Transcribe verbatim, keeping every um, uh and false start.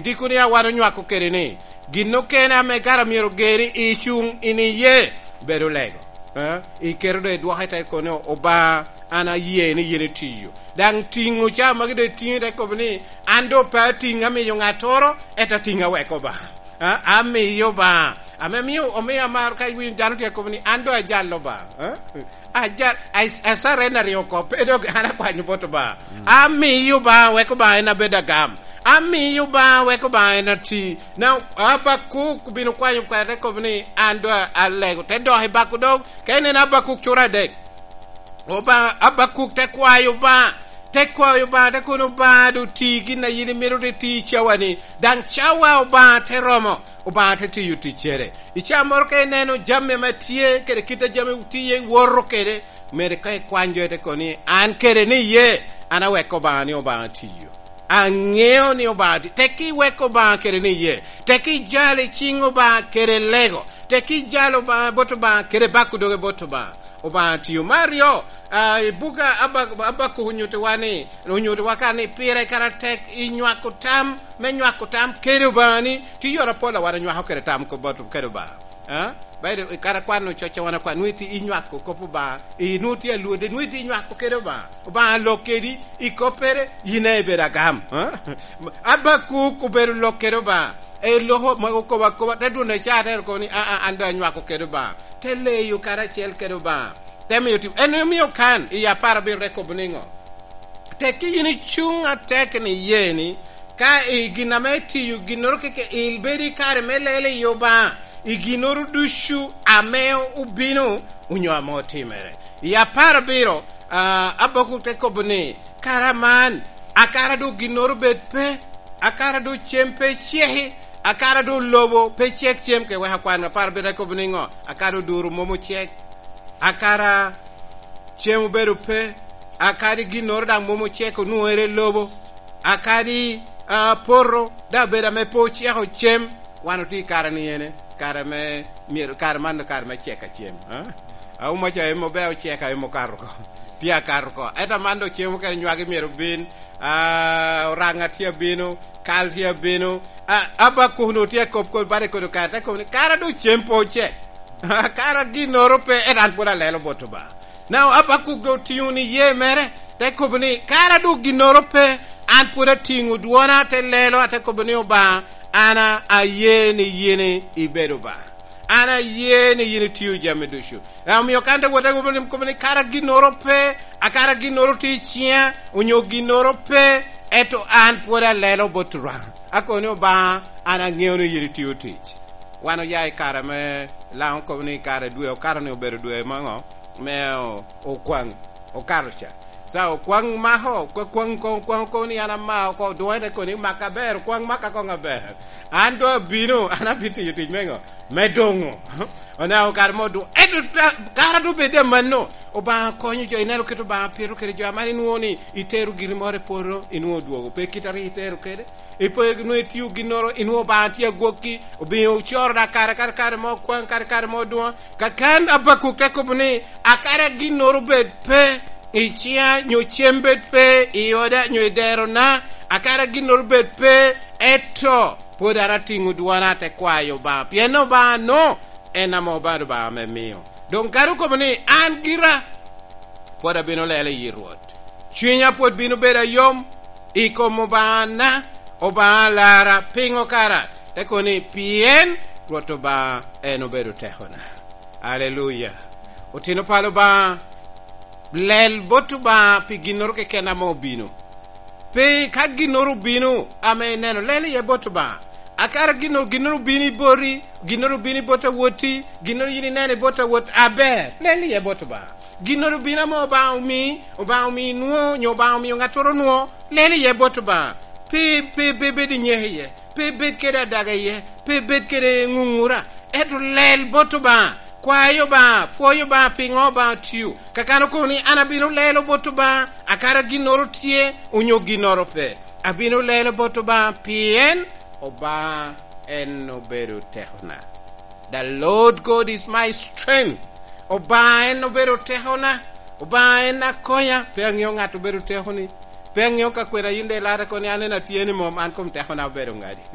Tiko ni a wan onywako kede ni, gin okene ame kara myero geri i cuŋ in iye, bedo lego. Eh? Iketo do idwoke te kono, "Obaŋa, an aye ni yin itiyo." Daŋ tiŋo ca magi do itiŋo te kobo ni, "An do pe atiŋ amiyo ŋattoro, ento atiŋ aweko Obaŋa." Ah, amiyo Obaŋa. Ame mio, omio amaro ka iwinyo dano tye kobo ni, "An do ajal Obaŋa." Eh? Ajal, I, I surrender oko, pe dok an akwanyo bot Obaŋa. Mm. Amiyo Obaŋa, wek Obaŋa en abed agam. Amiyo Obaŋa, wek Obaŋa en ati. Na Abakuk bino kwanyo kwede, te kobo ni, "An do alego." Te dok i bako dog, ka ineno Abakuk cura adek. Obaŋa, Abakuk te kwayo Obaŋa, te kwayo Obaŋa, te kono, "Obaŋa, do ti gin a yin imito te ti i cawa-ni." Daŋ cawa Obaŋa te romo, Obaŋa te tiyo ticcere. I ca moro ka ineno jami ame tye, kede kit a jami tye, iwoto kede, mere ka ikwany jo, ite kono ni, "An kede ni iye, an aweko Obaŋa ni Obaŋa tiyo. Aŋeo ni Obaŋa ti-," tek iweko Obaŋa kede ni iye, tek ijalo i ciŋ Obaŋa kede lego, tek ijalo Obaŋa bot Obaŋa kede bako doge bot Obaŋa. Obaŋa tiyo. Me aryo, ah, i buk a Abak-, Abakuk onyuttiwa ni, onyuttiwa ka ni, pire kara tek i nywako tam, me nywako tam kede Obaŋa ni, tye yore apol a wan onywako kede tam ko-, bot kede Obaŋa. Ah? Bayo kara kwan ococco wan akwan, nwoŋo itye inywako kop Obaŋa, i nwoŋo tye alwode, nwoŋo itye inywako kede Obaŋa. Obaŋa lok kedi, i koppere, yin aye ibedo agam. Ah? Abakuk obedo lok kede Obaŋa. E loko ma okobo akoba, te dwon i caa, te kobo ni, "Aa, an doŋ anywako kede Obaŋa." Te leyo karacel kede Obaŋa. Te miyo tim. En omio kan, i apar abiro te kobo niŋo? Tek yin icuŋ atek ni iye ni, ka i gin ame itiyo, ginnoro keke, ibedo i kare me lelo i Obaŋa, i ginnoro ducu ame obino, onyo ame otimere. I apar abiro, ah, Abakuk te kobo ni, "Kara man, akara doŋ ginnoro bed pe, akara doŋ cem pe ceki, akara doŋ lobo pe cek cem." Ke wek akwan, apar abiro te kobo niŋo? Akara oduro mom ocek, akara cem obedo pe, akadi ginnoro daŋ mom ocek onwoŋere i lobo, akadi, ah, poto daŋ obedo ame pe oceko cem. Wan otye i kare ni ene, kare me myero, kare man doŋ kare me cek a cem, ah? Auma ca emo be ocek a emo okato oko. Tye akato oko. Ento man doŋ cem okene nywagi myero bin, ah, oraŋa tye abino, kal tye abino. Ah, Abakuk onwoŋo tye akop kop bade kodo kare, te kobo ni, "Kara doŋ cem pe ocek." Kara ginnoro pe, ento an pwod alelo bot Obaŋa. Now, Abakuk doŋ otiŋo ni ye mere, te kobo ni, "Kara doŋ ginnoro pe, an pwod atiŋo dwona, te lelo, ate kobo ni, Obaŋa, an a-, aye ni yin ibedo Obaŋa. An aye ni yin itio jami ducu." Now, omio kan te wot, te kobo ni, kobo ni, "Kara ginnoro pe, akara ginnoro tye i ciŋa, onyo ginnoro pe, ento an pwod alelo bot Obaŋa. Akobo ni, Obaŋa, an aŋeo ni yin itio tic." Wan oya i kare me Laŋo kobo ni kare dwe okato ni obedo dwe me ŋo? Me o-, okwaŋ, okato ca. Ca okwaŋ mako, okwaŋ, okwaŋ, okwaŋ, okwaŋ ni an amao oko, dwoŋe te kono ni, "Mak aber, okwaŋ maka koŋ aber. An doŋ abino, an abitiyo tic me ŋo? Me doŋo." Oneno kare mo dwoŋ. Ento ta-, kara doŋ bed amanno, Obaŋa konyo jo, ineno kit Obaŋa pito kede jo, aman inwoŋo ni itero giri moro i poto, inwoŋo odwogo. Pe kit a rik itero kede. Ipe nwoŋo itio ginnoro, inwoŋo Obaŋa tye agwokki, obino ocoro da kare, kare, kare mo okwaŋ, kare, kare mo odwoŋ. Kakan Abakuk te kobo ni, "Akara ginnoro bed pe i ciŋa, nyo cem bed pe i oda, nyo i derona, akara ginnoro bed pe, eto pwod an atiŋo dwona ate kwayo Obaŋa, pien Obaŋa no en ame obalo Obaŋa me mio." Doŋ kadi okobo ni, "An gira pwod abino lelo i yi Rwot. Cwinya pwod bino bedo ayom i kom Obaŋana, Obaŋa alara." Piŋo kara? Te kobo ni, "Pien Rwot Obaŋa en obedo tekona." Aleluya. Otino palo Obaŋa, lel bot Obaŋa pi ginnoro keken ame obino. Pe ka ginnoro obino ame ineno, lel iye bot Obaŋa. Akara gin-, ginnoro obino i boti, ginnoro obino i bot awotti, ginnoro yin ineno i bot awot, aber, lel iye bot Obaŋa. Ginnoro obino ame Obaŋa omi, Obaŋa omi inwoŋo, nyo Obaŋa omiyo ŋattoro onwoŋo, lel iye bot Obaŋa. Pe, pe, pe bed inyeko iye, pe bed kede adaga iye, pe bed kede ŋuŋura, ento lel bot Obaŋa. Kwayo Obaŋa, pwoyo Obaŋa, piŋo Obaŋa otio. Kakan okobo ni, "An abino lelo bot Obaŋa, akara ginnoro tye, onyo ginnoro pe. Abino lelo bot Obaŋa, pien Obaŋa en obedo tekona." The Lord God is my strength. Obaŋa en obedo tekona. Obaŋa en akonya. Pe aŋeo ŋat obedo tekoni. Pe aŋeo ka kwena yin de ilara kono ni an en atye ni mom, an kom tekona obedo ŋadi.